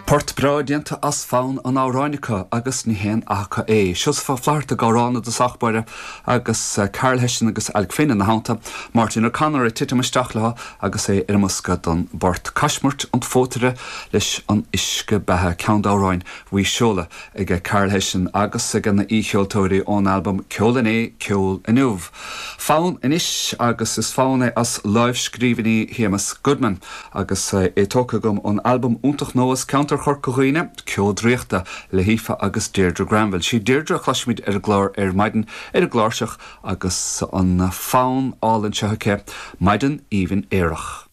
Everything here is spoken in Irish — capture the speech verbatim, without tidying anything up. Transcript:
Port breá déanta as fonn an amhráin acu agus ní haon aca é. Seosamh Ó Flaithearta ag amhrán i dtosach báire agus eh, Carl Hession agus Alec Finn ina theannta, Martin O'Connor ag titim isteach leo agus é ar an mbosca don bport Caismirt an phótaire leis an uisce beatha ceann d'amhráin Mhaoilseola ag Carl Hession agus ag na haoicheoltóirí ón albam Ceol Inné Ceol Inniu. Fonn anois agus is fonn é as lámhscríbhinní Shéamus Goodman agus eh, é tógtha agam ón albam iontach nua as ceantar Chorca Dhuibhne ceol draíochta le hAoife agus Deirdre Granville. Sí Deirdre a chloisfimid ar an gclár ar maidin ar an gcláirseach agus an fonn álainn seo aici Maidin Aoibhinn Aerach.